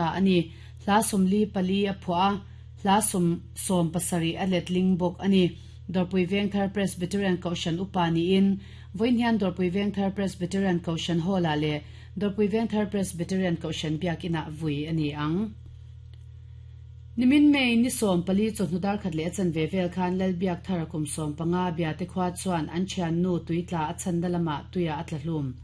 A ni. Hla 44 a phuah a, hla 77 a letling bawk a ni. Dawrpui Vengthar Presbyterian Kohhran Upa niin vawiin hian Dawrpui Vengthar Presbyterian Kohhran Hall-ah leh Dawrpui Vengthar Presbyterian Kohhran Biakinah vui a ni ang. Nimin May ni 14 chawhnu darkhat leh a chanve vel khan Lalbiakthara kum 15 Biate khua chuan an thiannu tuitla a chhanna lamah tuiah a tla hlum.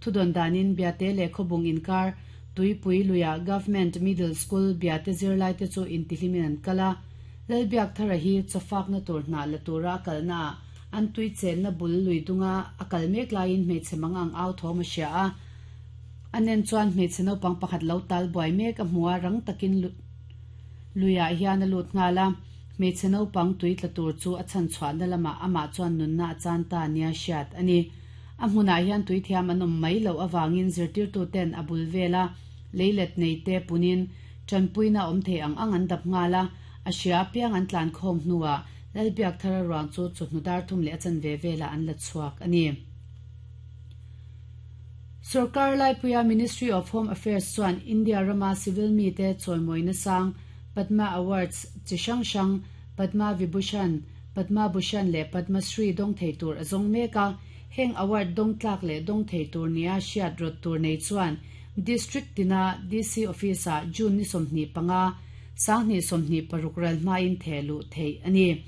Thudawn danin Biate leh Khawbung inkar Tuipui luiah Government Middle School Biate zirlaite chu intihlimin an kal a, Lalbiakthara hi chawfakna tur hnah la tura a kalnaah an tui chenna bul lui dunga a kal mek laiin hmeichhe mang ang au thawm a hria a. A nen chuan hmeichhe naupang pakhat lo tal buai mek a hmu a, rang takin luiah hian a lut nghal a. Hmeichhe naupang tui tla tur chu a chhanchhuahna lamah amah chuan nunna a chan ta nia hriat a ni. A hmunah hian tuithiam an awm mai loh avangin zirtirtuten a bul vela leilet neite punin tanpuina awm thei ang ang an dap nghal a, a hria apiang an tlan khawm hnuah Lalbiakthara ruang chu chawhnu dar thum leh a chanve velah an la chhuak a ni. Sorkar laipuia Ministry of Home Affairs chuan India rama civil mite chawimawina sang Padma Awards chi hrang hrang Padma Vibhushan, Padma Bhushan leh Padma Shri dawng thei tur a zawng mek a, heng award dawng tlak leh dawng thei tur nia hriat rawt tur nei chuan District tina DC Office-ah June ni 25, 2026 ral hmain theh luh theih a ni.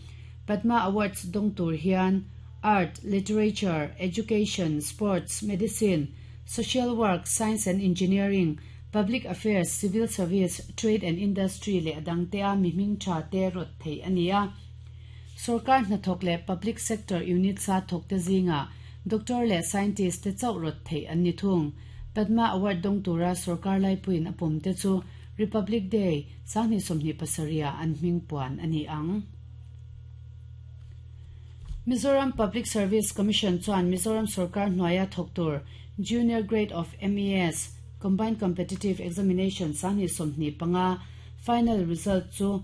Padma Awards dawng tur hian Art, Literature, Education, Sports, Medicine, Social Work, Science and Engineering, Public Affairs, Civil Service, Trade and Industry leh a dangte a mi hming tha te rawt theih a ni a. Sorkar hnathawk leh Public Sector Units a thawkte zingah Doctor leh Scientist te chauh rawt theih an ni thung. Padma Award dawng tura sorkar laipuiin a pawm te chu Republic Day, 2027 ah an hming puan a ni ang. Mizoram Public Service Commission chuan Mizoram sorkar hnuaia thawk tur Junior Grade of MES, Combined Competitive Examination 2025 final result chu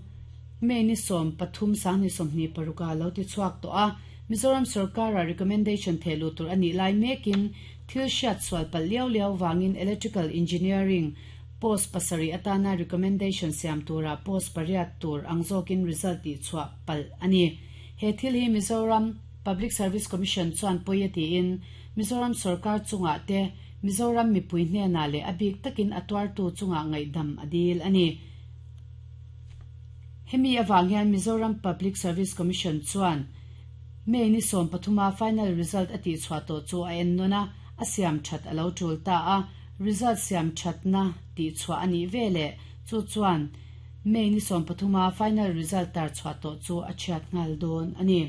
May ni 13 2026 ah lo ti chhuak tawh a. Mizoram sorkara recommendation theh luh tur a nih lai mekin thil hriat sual palh liau liau vangin Electrical Engineering post pasarih atana recommendation siam tura post pariat tur ang zawkin result tih chhuah palh a ni. He thil hi Mizoram Public Service Commission chuan pawi a tiin Mizoram sorkar chungah te Mizoram mipui hnenah leh a bik takin a tuartu chungah ngaihdam a dil a ni. Hemi avang hian Mizoram Public Service Commission chuan May ni 13 a final result a tihchhuah tawh chu a en nawn a, a siam that a lo tul ta a. Result siam thatna tihchhuah a nih veleh chu chuan May ni 13 a final result tar chhuah tawh chu a chhiat nghal dawn a ni.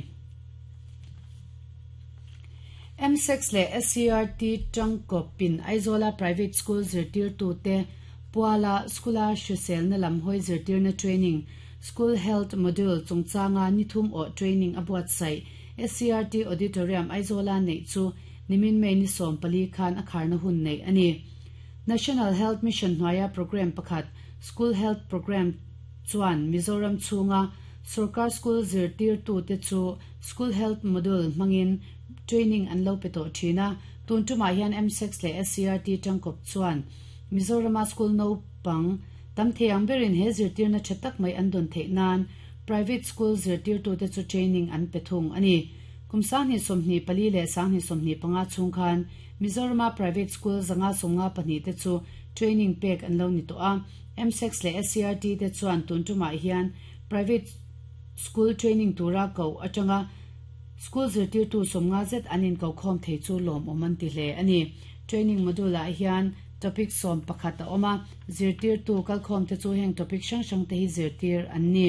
M6 leh SCERT tangkawpin Aizawla private school zirtirtute Puala School-a hriselna lam hawi zirtirna training, School Health Module chungchanga ni thum awh training a buatsaih SCERT Auditorium Aizawla neih chu nimin May ni 14 khan a kharna hun neih a ni. National Health Mission hnuaia programme pakhat School Health Programme chuan Mizoram chhunga sorkar school zirtirtute chu School Health Module hmangin training an lo pe tawh thin a, tun tumah hian M6 leh SCERT tangkawp chuan Mizorama school naupang tam thei ang berin he zirtirna tha tak mai an dawn theih nan private school zirtirtute chu training an pe thung a ni. Kum 2024 leh 2025 chhung khan Mizorama private school 552 te chu training pek an lo ni tawh a, M6 leh SCERT te chuan tun tumah hian private school training tura koh atanga school zirtirtu 50 zet an inkokhawm thei chu lawmawm an ti hle a ni. Training module ah hian topic 11 a awm a, zirtirtu kalkhawm te chu heng topic hrang hrang te hi zirtir an ni.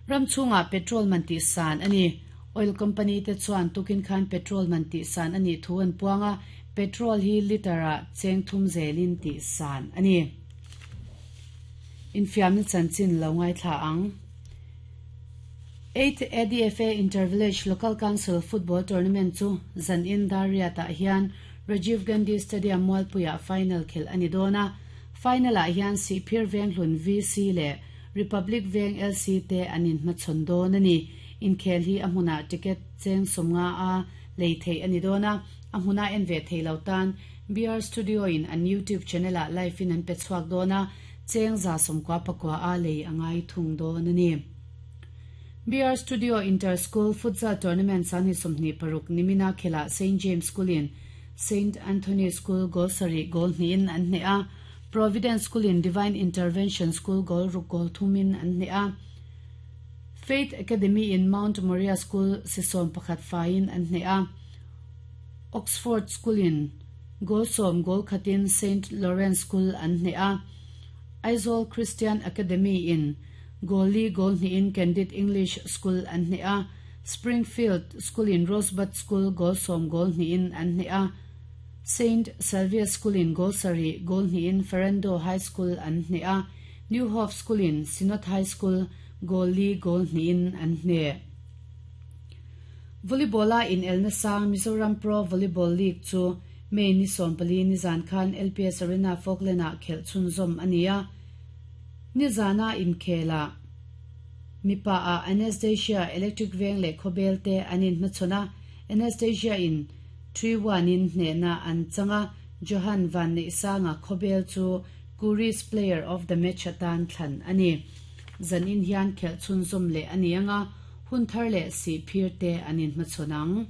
Ram chhungah petrol man tih san a ni. Oil company te chuan tukin khan petrol man tih san a nih thu an puang a, petrol hi litre ah cheng thum zelin tih san a ni. Infiamna chanchin lo ngaithla ang. 8th ADFA Inter-Village Local Council Football Tournament chu zanin dar riatah hian Rajiv Gandhi Stadium Mualpuiah final khelh a ni dawn a. Final ah hian Sihphir Venghlun VC leh Republic Veng LC te an inhmachhawn dawn a ni. Inkhel hi a hmunah ticket cheng 50 a lei theih a ni dawn a, a hmuna en ve thei lo tan. BR Studio in an YouTube channel ah live in an pe chhuak dawn a, cheng 199 a lei a ngai thung dawn a ni. BR Studio Inter School Futsal Tournament 2026 nimina khelah Saint James School in Saint Anthony School goal sarih goal hnihin an hneh a, Providence School in Divine Intervention School goal ruk goal thumin an hneh a, Faith Academy in Mount Moriah School si 11 faiin an hneh a, Oxford School in goal sawm goal khatin Saint Lawrence School an hneh a, Aizawl Christian Academy in goal li goal hnihin Candid English School an hneh a, Springfield School in Rosebud School goal sawm goal hnihin an hneh a, Saint Salvia School in goal sarih goal hnihin Ferendo High School an hneh a, New Hope School in Synod High School goal li goal hnihin an hneh. Volleyball-a inelna sang Mizoram Pro Volleyball League chu May ni 14 nizan khan LPS Arena Falkland-ah khelh chhunzawm a ni a. Nizana inkhelah mipa-ah Anastasia Electric Veng leh Khawbel te an inhmachhawn a, Anastasia in 3-1 in hnehna an chang a, Johan Van Neihsanga Khawbel chu Kuris Player of the Match atan thlan a ni. Zanin hian khelh chhunzawm leh a ni ang a, hun thar leh sihphir te an inhmachhawn ang.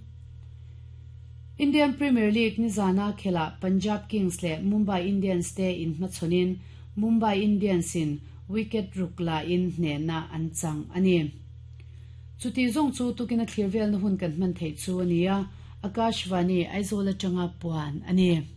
Indian Premier League nizana khelah Punjab Kings leh Mumbai Indians te inhmachhawnin Mumbai Indians in wicket ruk lain hnehna an chang a ni. Chuti zawng chu tukin a thlir velna hun kan hman theih chu a ni a, Akashvani Aizawl atanga puan a ni.